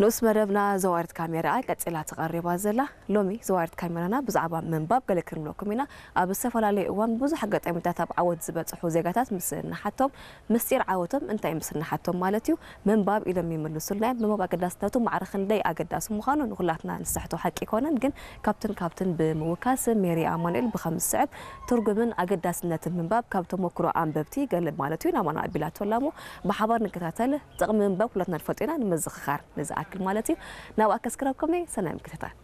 ንኡስ መደብና ዘዋሪት ካሜራ ቀጺላ ተቐሪባ ዘላ። ሎሚ ዘዋሪት ካሜራና ብዛዕባ ምንባብ ገለ ክንብለኩም ኢና። ኣብ ዝተፈላለየ እዋን ብዙሕ ኣጋጣሚታት ኣብ ዓወት ዝበጽሑ ዜጋታት ምስ እንሓቶም፣ ምስጢር ዓወቶም እንታይ ምስ እንሓቶም ማለት እዩ፣ ምንባብ ኢሎም ይምልሱልና እዮም። ምንባብ ኣገዳስነቱ ማዕረ ክንደይ ኣገዳሲ ምዃኑ ንኹላትና ንስሕቶ ሓቂ ኣይኮነን፣ ግን ካብትን ካብትን ብምውካስ ሜሪ ኣማኑኤል ብኸም ዝስዕብ ትርጉምን ኣገዳስነትን ምንባብ ካብ ተሞክሮ ኣንበብቲ ገለ ማለት እዩ ናባና ኣቢላቶ ኣላ እሞ ብሓባር ንከታተል። ጥቕሚ ምንባብ ኩላትና ንፈልጦ ኢና፣ ንምዝኽኻር ንዝኣክል ማለት እዩ። ናብኣ ከስክረኩም እየ። ሰናይ ምክትታል።